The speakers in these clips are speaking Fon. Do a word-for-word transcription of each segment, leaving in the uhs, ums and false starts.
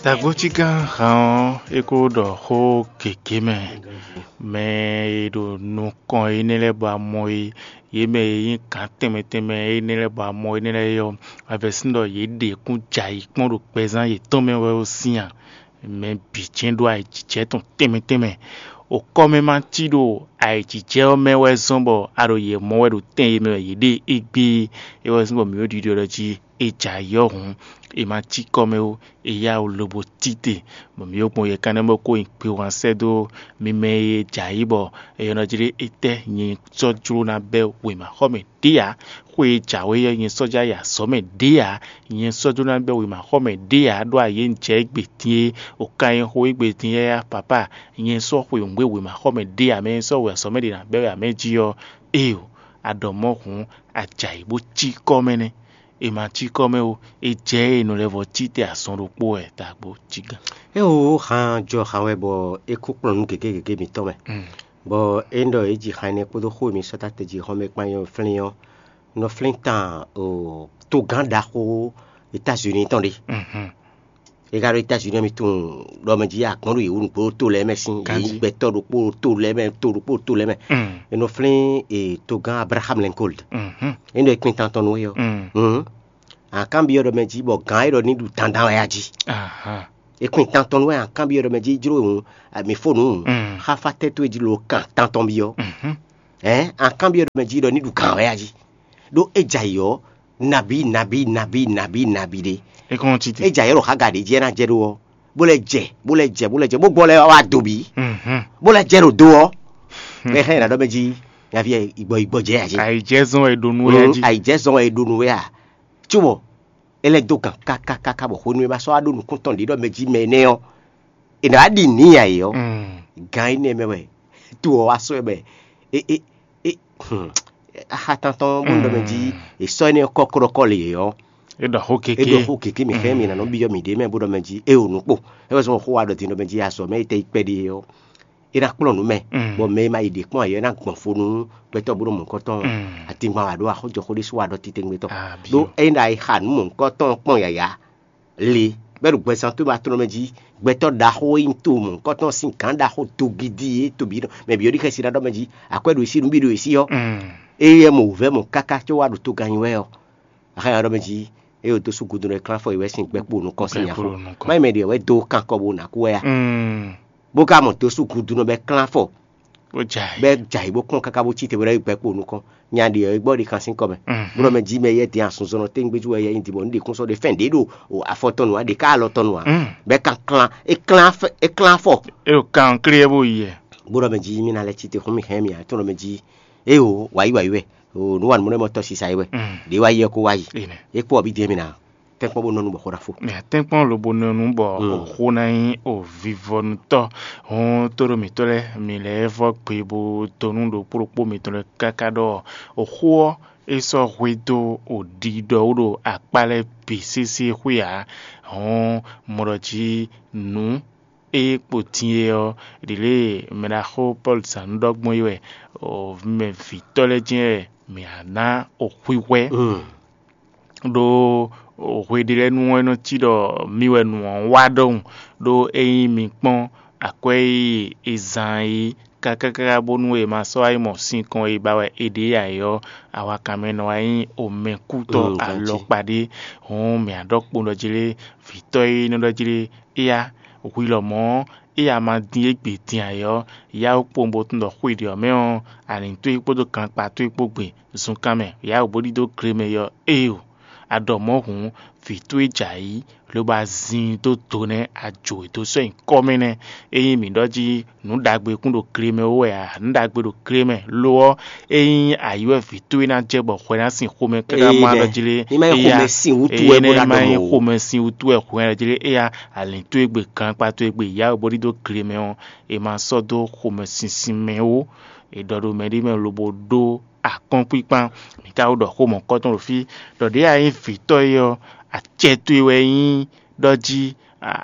Tagbócígán han ɔ́, é kó ɖɔ xó gěgé mɛ. Mɛ e ɖo nukɔn énɛ́ lɛ́ɛ ba mɔ é, yě mɛ e nyí gǎn tɛnmɛ tɛnmɛ énɛ́ lɛ́ɛ ba mɔ énɛ́ lɛ́ɛ é ɔ́, avɛsín ɖɔ yě ɖe kún jɛ ayǐ kpɔ́n ɖo gbɛzán yětɔn mɛ wɛ ɔ́ sín a? Mɛ bǐ jɛ́n ɖó ayǐjijɛ tɔn tɛnmɛ tɛnmɛ. Okɔ́ mɛ ma cí ɖo ayǐjijɛ ɔ́ mɛ wɛ zɔ́n bɔ a ɖo yě mɔ wɛ ɖo tɛn e mɛ wɛ yě ɖe égbé é. É wɛ zɔ́n bɔ mǐ ɖo ɖiɖɔ ɖɔ jí è jɛ ayǐ ɔ́ hǔn, è ma cí kɔ mɛ ó, è yá wǔ lobo cí te, bɔ mǐ yó gbɔn yɛ kanɛ́ bó kó nyi kpewun sɛ́ dó mi mɛ e jɛ ayǐ bɔ è nɔ jlé étɛ́ nyɛ sɔ́ jló ná bɛ́ wěmaxɔmɛ ɖě ǎ. Xwe e jǎwe ɔ́, nyɛ sɔ́ já yi azɔ̌ mɛ ɖě ǎ. Nyɛ sɔ́ jló ná bɛ́ wěmaxɔmɛ ɖě ǎ, ɖó ayě un jɛ égbé din é, o ka nyɛ xo égbé din é á, papá. Nyɛ sɔ́ xwe nǔgbé wěmaxɔmɛ ɖě ǎ, mɛ e sɔ́ wě azɔ̌ mɛ ɖě ná bɛ́ wɛ ǎ mɛ jí ɔ́, éeǒ, a ɖɔ mɔ̌ hǔn, a jɛ ayǐ bó cí kɔ mɛ nɛ́. È ma cí kɔ mɛ ó, è jɛ ée è nɔ lɛ́ vɔ cí te azɔn ɖokpó wɛ dagbo cí gán. É wǒ han jɔ han wɛ bɔ é kú kplɔ́n nǔ gěgé gěgé mǐtɔn mɛ. Bɔ é ɖɔ é ji han énɛ́ kpódó xó e mi sɔ́ ta te jí xɔ́mɛ kpán nyɔ́ flín ɔ́, nɔ flín tan togán ɖaxó États-Unis tɔn ɖé. É ka ɖo États-Unis ɔ́, mi tunwun ɖɔ mɛ jí agbɔ̌n ɖo yě wú nǔgbó ɖo to lɛ́ɛ mɛ sín, yě nyí gbɛtɔ́ ɖokpó ɖo to lɛ́ɛ mɛ, to ɖokpó ɖo to lɛ́ɛ mɛ. È nɔ flín togán Abraham Lincoln. É ɖɔ é kpín tantɔn nú é ɔ́. Akanbyɔ́ ɖɔ mɛ jí bɔ gǎn é ɖɔ ní ɖu dandan wɛ a jí. É kpín tantɔn nú wɛ akanbyɔ́ ɖɔ mɛ jí jló hǔn, mi fó nǔ hǔn, xáfá tɛ́ towe jí lo kan tantɔn byɔ́. Ɛ̌ akanbyɔ́ ɖɔ mɛ jí ɖɔ ní ɖu gǎn wɛ a jí. Ɖó é jɛ ayǐ ɔ́, nabí nabí nabí nabí nabí ɖé. É kɔn cí te. É jɛ ayǐ ɔ́ ɖo xága ɖě jí é ná jɛ ɖó ɔ́, bó lɛ́ jɛ bó lɛ́ jɛ bó lɛ́ jɛ bó gbɔ lɛ́ wá do bǐ, bó lɛ́ jɛ ɖo do ɔ́. Mɛ xlɛ́ ná ɖɔ mɛ jí nyaví ɛ igbɔ igbɔ jɛ a jí. Àìjẹ́ zɔn wɛ è ɖo nú wɛ a jí. Àìjẹ́ zɔn wɛ è ɖo nú wɛ a. Cóbɔ é lɛ́ dó gǎn kákákáká bɔ xwenu e ma sɔ́ wá ɖó nukún tɔn ɖě ɖɔ mɛ jí mɛ énɛ́ ɔ́, è nǎ wá ɖi nǐ nya yě ɔ́, gǎn énɛ́ mɛ wɛ to ɔ́ wá sɔ́ ɛ mɛ. Axa tantɔn bó ɖɔ mɛ jí è sɔ́ énɛ́ ɔ́ kɔ́ kɔ́ɖɔkɔ́ lě ɔ́, é ɖɔ xó é kéké. Ɖɔ xó kéké mǐ xlɛ́ mǐ ná nɔ byɔ́ mǐɖée mɛ bó ɖɔ mɛ jí é o nǔkpó. É wɛ zɔn xó wa ɖɔ din ɖɔ mɛ jí azɔ̌ mɛ é tɛ yi kpɛɖé ɔ́, é ná kplɔ́n nǔ mɛ, bɔ mɛ e ma yi ɖě kpɔ́n ǎ é ná gbɔn fo nú gbɛtɔ́ bó ɖo mɔ̌hunkɔtɔn. Atingban wǎ ɖó axɔ́jɔxó ɖésú wá ɖɔ títɛ́ngbé tɔn. Ɖó ényí ɖo ayixa nǔ mɔ̌hunkɔtɔn kpɔ́n yǎyá le bɛ́ ɖo gbɛzán tó ma tlɔ́n mɛ jí, gbɛtɔ́ ɖaxó e nyí to mɔ̌hunkɔtɔn sín gǎn ɖaxó togidi e to bǐ nɔ mɛ bǐ ɔ́ ɖi xɛsi ná ɖɔ mɛ jí, akwɛ́ ɖo sí nú bí ɖo sí ɔ́, eye mɔ wǔvɛ́ mɔ káká có wá ɖo toganyi wɛ ɔ́, axánya ɖɔ mɛ jí, eye wǒ dó sú gudu nɔ e klán afɔ yi wɛ sín gbɛkpó nukɔn sín nya fó. Má yi mɛ ɖě wɛ dó kankɔ bó ná kú wɛ a? Bó ka mɔ dó sú gudu nɔ bɛ klán afɔ bó jɛ ayǐ. Bɛ jɛ ayǐ bó kplɔ́n káká bó cí te bó ná yi gbɛkpó nukɔn. Nya ɖě ɔ́, é gbɔ ɖi kan sín kɔ mɛ. Bó ɖɔ mɛ jí mɛ yɛ dín asúnzɔnɔ téŋgbéjú wɛ yɛ nyi dǐbɔ ní ɖi kún sɔ́ ɖe fɛn ɖě ɖo afɔ tɔn nǔ wá ɖe ká alɔ tɔn nǔ wá. Bɛ kan klán é klán afɔ é klán afɔ. É ɖo kan klé bó yi yɛ. Bó ɖɔ mɛ jí mí ná lɛ́ cí te xún mì hɛn mì ǎ, tó ɖɔ mɛ jí éyo wǎyi wǎyi wɛ, o nǔ wa nǔ mɔ tɔ́ sisa yi wɛ. Ɖě wá yi ɛ kó wá yi. É kpó ɔbí dín mì ná tɛ́nkpɔ́n bó nɔ nú bɔ xó ná fó. Mɛ tɛ́nkpɔ́n lobo nɔ nú bɔ xó ná nyí o vivɔnutɔ́. Hɔn tóɖó mǐtɔn lɛ́ɛ, mi lɛ́ vɔ́ gbe bó dó nú ɖokpó ɖokpó mǐtɔn lɛ́ɛ káká ɖɔ xó ɔ́ é sɔ́ hwedó o ɖiɖɔ wú ɖo akpá lɛ́ɛ bǐ sésé xwé ǎ. Hɔn mɔ ɖɔ jí nǔ e kpo din é ɔ́, ɖě lě mɛɖaxó Pɔ́lu zǎn nú ɖɔ gbɔn é wɛ, mɛ vǐtɔ́ lɛ́ɛ jɛ́n wɛ mǐ ná ná o xwixwɛ. Ɖó hwe ɖé lɛ́ɛ nu ɔ́, é nɔ cí ɖɔ mi wɛ nǔ ɔ́ wá ɖɔhun, ɖó ényí mi kpɔ́n akwɛ́ e è zán é kákáká bónú è ma sɔ́ wá yi mɔ sinkɔn e ba wɛ è ɖe ǎ é ɔ́, awakanmɛ nɔ wá nyí omɛkútɔ́ alɔkpa ɖé. Hǔn mǐ á ɖɔ kpowun ɖɔ jlé, vǐtɔ́ e nɔ ɖɔ jlé éyá, hwi lɔmɔ̌ ɔ́, é a ma dín égbé din ǎ é ɔ́, yá wú kpowun bó tunwun ɖɔ xwe ɖě ɔ́ mɛ ɔ́, alǐn towe kpódó gankpá towe kpó gbe zunkan mɛ, yá wǔ bó ɖidó gle mɛ é ɔ́, éyo. A ɖɔ mɔ̌ hǔn, vǐ towe jɛ ayǐ, lobo azin dó do nɛ́, a jǒ e dó sɔ́ nyi kɔ́ mɛ nɛ́. Ényí mǐ ɖɔ jí nǔ ɖagbe kún ɖo gle mɛ wú wɛ ǎ, nǔ ɖagbe ɖo gle mɛ. Lo ɔ́, ényí ayǐ wɛ vǐ towe ná jɛ bɔ hwɛ ná sin xomɛ káká má ɖɔ jlé, ní má nyí xomɛ sin wútu wɛ bó ná ɖɔ mɔ̌ ó. Xomɛ sin wútu wɛ hwɛ ná jlé, éya alǐn towe gbe, gankpá towe gbe, yá wɛ bó ɖidó gle mɛ ɔ́, è ma sɔ́ dó xomɛ sinsin mɛ ó. È ɖɔ ɖo mɛɖé mɛ lobo ɖó akɔ́nkpíkpán. Mǐ ka wú ɖɔ xó mɔ̌kɔtɔn ɖo fí, ɖɔ ɖěe a nyí vǐtɔ́ é ɔ́, acɛ towe wɛ nyí ɖɔ jí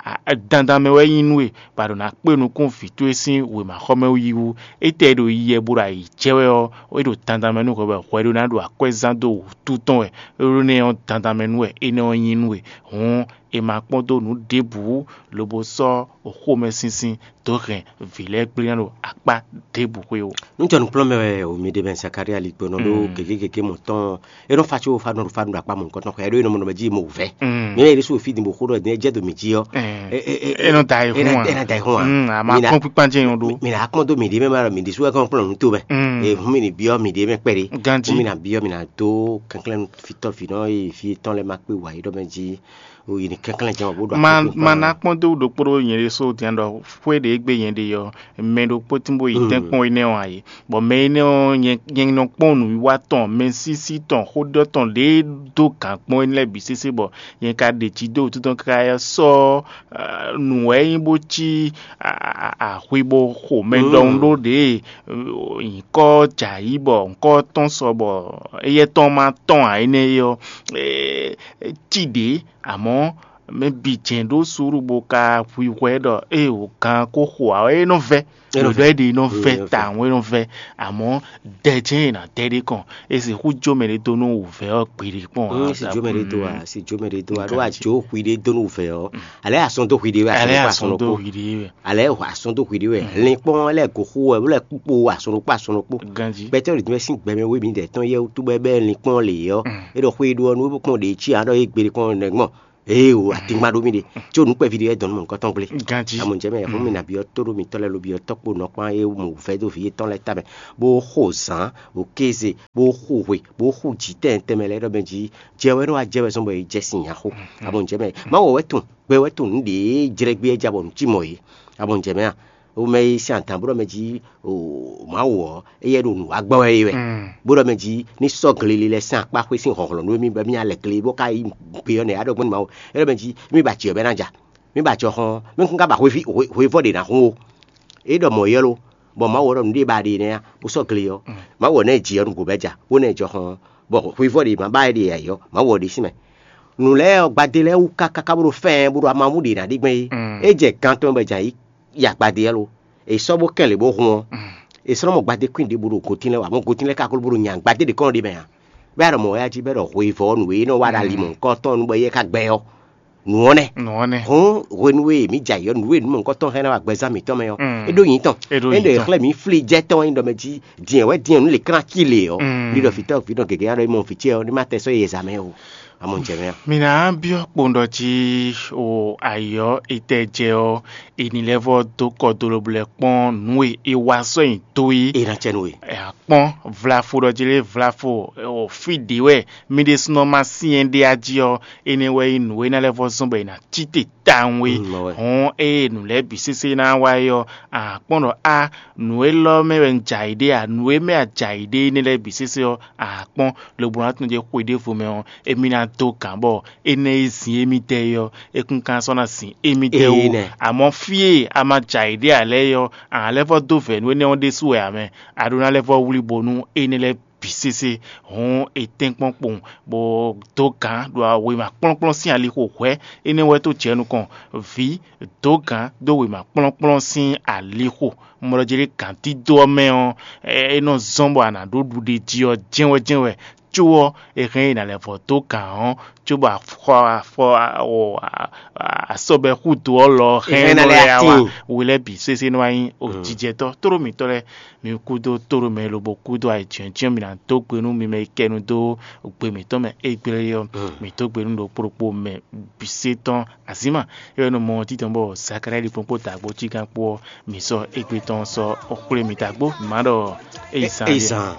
dandan mɛ wɛ nyí nú we, bɔ a ɖo ná kpé nukún vǐ towe sín wěmaxɔmɛ yi wú. Étɛ́ e ɖo yiyɛ bó ɖo ayǐ jɛ wɛ ɔ́, é ɖo dandan mɛ nú hwɛ wɛ hwɛ ɖó ná ɖo akwɛ́ zán dó wǔtu tɔn wɛ, é ɖó nɛ́ ɔ́ dandan mɛ nú wɛ énɛ́ ɔ́ nyí nú we. Hǔn è ma kpɔ́n dó nǔ ɖěbǔ lobo sɔ́ xomɛsinsin dó hɛn vǐ lɛ́ɛ gblé ná ɖo akpá ɖěbǔ xwé ó. Nú jɔ nukplɔ́nmɛ wɛ o mi ɖe mɛ Zakaria ligbɔnɔ ɖó gěgé gěgé mɔ̌ tɔn. É nɔ fa có fa nɔ ɖo fa nɔ ɖo akpá mɔ̌hunkɔtɔn xwɛ, é ɖó é nɔ mɔ nɔ mɛ jí mɔ wǔvɛ́. Mi ɛ ɖésú fí din bó xó ɖɔ din é jɛ do mì jí ɔ́. É nɔ da ayihún a? É nɔ da ayihún a? A ma kpɔ́n kpíkpán jɛ yɔn ɖó. Mi na kpɔ́n dó mì ɖě mɛ ma ɖɔ mì ɖésú wɛ kɔn kplɔ́n nǔ to mɛ. Hǔn mi ní byɔ́ mì ɖě mɛ kpɛɖé. Ganjí. Hǔn mi ná byɔ́ mi ná dó kɛnklɛ́n fitɔ́ vǐ nɔ e fí tɔn lɛ́ɛ ma kpé wǎ yi ɖɔ mɛ jí. O yi ní kɛnklɛ́n jɛ́n bó ɖo ma akpɔ́n ma ná kpɔ́n dó ɖokpó ɖó nyɛ ɖésú din ɖɔ xwé ɖě gbe nyɛ ɖe ɔ́, mɛ ɖokpó tín bó yi tɛ́nkpɔ́n énɛ́ ɔ́ ǎ é. Bɔ mɛ énɛ́ ɔ́, nyɛ nyɛ nɔ kpɔ́n nǔwiwa tɔn, mɛsísí tɔn, xóɖɔ tɔn ɖě dó gǎn kpɔ́n énɛ́ lɛ́ɛ bǐ sésé bɔ nyɛ ka ɖe jǐ dó wútu tɔn káká sɔ́ nǔ wɛ é nyí bó cí axwi bó xo mɛ ɖɔhun ɖó ɖě nyǐkɔ jɛ ayǐ bɔ nyǐkɔ tɔn sɔ bɔ éyɛ́ tɔn ma tɔn ǎ énɛ́ é ɔ́, cí ɖě. Amɔ̌ mɛ bǐ jɛ́n ɖó suúlu bó ka hwihwɛ ɖɔ ée wǒ gán ko xo ǎ ɔ́, é nɔ vɛ́. Ɖɔ̌ɖɔ́ é ɖě nɔ vɛ́ tawun, é nɔ vɛ́. Amɔ̌ dɛ jɛ́n è nǎ dɛ ɖé kɔn, é sixú jó mɛ ɖé dó nú wǔvɛ́ ɔ́ gbeɖé kpɔ́n ǎ. Si jó mɛ ɖé dó a si jó mɛ ɖé dó a ɖó àjò hwi ɖé dó nú wǔvɛ́ ɔ́. Alɛ asɔn dó hwi ɖé wɛ, alɛ asɔn dó hwi ɖé wɛ. Alɛ asɔn dó hwi ɖé wɛ. Linkpɔn lɛ go xó wɛ, wó lɛ kpó asɔn ɖokpó asɔn ɖokpó. Ganjí. Gbɛtɔ́ ɖě tɔn sín gbɛmɛ wé mi dɛ tɔn yɛ wútu bɛ bɛ linkpɔn lě ɔ́. É ɖɔ xwé ɖó ɔ́ nú kpɔn ɖě cí aɖɔ é gbeɖé kpɔn nɛgbɔn. Ee o, atingba ɖó mì ɖe. Tso nukpɛví ɖé wɛ dɔn nú mɔ̌hunkɔtɔn gblé. Ganjí. Amɔ̌ jɛ mɛ, hɔn mi nǎ byɔ́ tó ɖó mitɔ́ lɛ́ɛ ló byɔ́ tɔ́kpo nɔkpán e mɔ wǔvɛ́ dó vǐ yětɔn lɛ́ɛ tamɛ, bó xo zǎn, bó kéze, bó xo hwe, bó xo jǐ tɛnmɛ tɛnmɛ lɛ́ɛ ɖɔ mɛ jí jɛ wɛ nɔ wá jɛ wɛ zɔn bɔ è jɛ sin nya xó. Amɔ̌ jɛ mɛ, má wɔ wɛ tun gbɛ wɛ tun nǔ ɖě jlɛ́ gbé é ja bɔ nǔ cí mɔ̌ é. Amɔ̌ jɛ mɛ a? Wo mɛ e sín adǎn bó ɖɔ mɛ jí o Mawu ɔ́, éyɛ́ ɖo nǔ wa gbɔ wɛ é wɛ. Bó ɖɔ mɛ jí ní sɔ́ gleli lɛ́ɛ sín akpá xwé sín hlɔ̌nhlɔ́n nú émí bɔ émí ná lɛ gle bó ká yi gbe ɔ́ nɛ́ á ɖɔ gbɔn nú Mawu. É ɖɔ mɛ jí émí ba jǐ ɔ́ bɔ é ná ja. Mí ba jɔ xɔn ɔ́, mí kún ka ba hwevɔ ɖě ná hun ó. É ɖɔ mɔ̌ ylɔ́, bɔ Mawu ɔ́ ɖɔ nǔɖé ba ɖe nɛ́ á, bó sɔ́ gle ɔ́. Mawu ɔ́ ná ɛ jǐ ɔ́ nǔgbó bɔ é ja, bó ná ɛ jɔ xɔn ɔ́, bɔ hwevɔ ɖě ma ba é ɖe ǎ é ɔ́, Mawu ɔ́ ɖésú mɛ. Nǔ lɛ́ɛ ɔ́, gbadé lɛ́ɛ wú káká bó ɖo fɛ́ɛn bó ɖo amamú ɖě ná ɖe gbɛn é. É jɛ gan tɔn bɔ è jǎ yí ya gbadé ɔ́ lo. È sɔ́ bó kɛn lě bó hun ɔ́, è sɔ́ nɔ mɔ gbadé kwín ɖěbǔ ɖo gotín lɛ́ɛ wɛ, amɔ̌ gotín lɛ́ɛ ka gló bó ɖo nya gbadé ɖě kɔn ɖ'é mɛ ǎ. Bɔ é ɖɔ mɔ̌ wɛ jí bɔ é ɖɔ hweyivɔ́ ɔ́, nǔ e nɔ wa ɖo ali mɔ̌hunkɔtɔn nú bɔ éyɛ́ ka gbɛ ɔ́, nǔ ɔ́ nɛ́. Nǔ ɔ́ nɛ́. Hǔn hwenu e mǐ jɛ ayǐ ɔ́, nǔ e nǔ mɔ̌hunkɔtɔn hɛn ná wa gbɛzán mǐtɔn mɛ ɔ́, é ɖó nyǐ tɔn. É ɖó é nyǐ ɖɔ è tɔn. Xlɛ́ mǐ flí jɛ tɔn é ɖɔ mɛ jí din wɛ din ɔ́ nú lě klán cí lě ɔ́, Mm. Ɖiɖɔ fǐtɔ́ fǐtɔ́ gěgé ná ɖɔ é mɔ fǐ ce ɔ́, ní má tɛ sɔ́ yi e zǎn mɛ ó. Amɔ̌ jɛ mɛ ɔ́. Mi ná byɔ́ kpowun ɖɔ jí o ayǐ ɔ́, è tɛ jɛ ɔ́, è nǐ lɛ́ vɔ́ dó kɔ dó lobɔ lɛ́ kpɔ́n nǔ e è wa sɔ́ nyi dó é. È nǎ cɛ nú we. Ɛ, a kpɔ́n vlafo ɖɔ jí lé vlafo o fí ɖě wɛ mì ɖésúnɔ ma syɛ́n ɖé a jí ɔ́, énɛ́ wɛ nyí nǔ e ná lɛ́ vɔ́ zɔ́n bɔ è nǎ cí te tawun é. Mm, mɔ wɛ. Hɔn ée nǔ lɛ́ɛ bǐ sésé ná wá é ɔ́, a kpɔ́n ɖɔ á nǔ élɔ́ mɛ wɛ un jɛ ayǐ ɖe a, nǔ e mɛ a jɛ ayǐ ɖe énɛ́ lɛ́ɛ bǐ sésé ɔ́, a kpɔ́n lobo ná tunwun jɛ xwe ɖěvo mɛ ɔ́, émí ná dó gǎn bɔ énɛ́ e zin émí dɛ é ɔ́, é kún ka sɔ́ ná zin émí dɛ Ee, wú. Nɛ. Amɔ̌ fí e a ma jɛ ayǐ ɖe ǎ lɛ́ɛ é ɔ́, a nǎ lɛ́ vɔ́ dó vɛ̌ nú énɛ́ ɔ́ ɖésú wɛ ǎ mɛ, a ɖó ná lɛ́ vɔ́ wlí bónú énɛ́ lɛ́ɛ bǐ sésé hɔn è tɛ́nkpɔ́n kpowun, bɔ dó gǎn ɖo wěma kplɔ́nkplɔ́n sín alixo hwɛ̌, énɛ́ wɛ tó jɛ nukɔn vǐ dó gǎn dó wěma kplɔ́nkplɔ́n sín alixo. Mɔɖɔjéɖé gǎn dídó ɔ́ mɛ ɔ́, é nɔ zɔ́n bɔ a nǎ ɖó ɖuɖe jí ɔ́ jɛ́nwɛ́jɛ́nwɛ, có ɔ́, è hɛn ɛ nǎ lɛ́ vɔ dó gǎn ɔ́, cóbɔ afɔ afɔ asɔbɛ xúdo ɔ́ lɔ hɛn Hɛn ɛ nɔ lɛ́ lɛ́ wá atín. We lɛ́ɛ bǐ sésé nɔ wá nyí o jijɛtɔ́ tóɖó mǐtɔn lɛ́ɛ. Mi kúdó tóɖó mɛ lobo kúdó ayǐjɛ́njɛ́n mi ná dó gbe nú mi mɛ e kɛ nu dó gbe mǐtɔn mɛ égbé ɔ́. Mi dó gbe nú ɖokpó ɖokpó mɛ bǐ sé tɔn azǐma. É wɛ nɔ mɔ títɔn bɔ Zakalai ɖi kpɔ́n kpó dǎgbó cígán kpó ɔ́, mi sɔ́ égbé tɔn sɔ́ xwlé mi dǎgbó. Má ɖɔ é zan Ezan.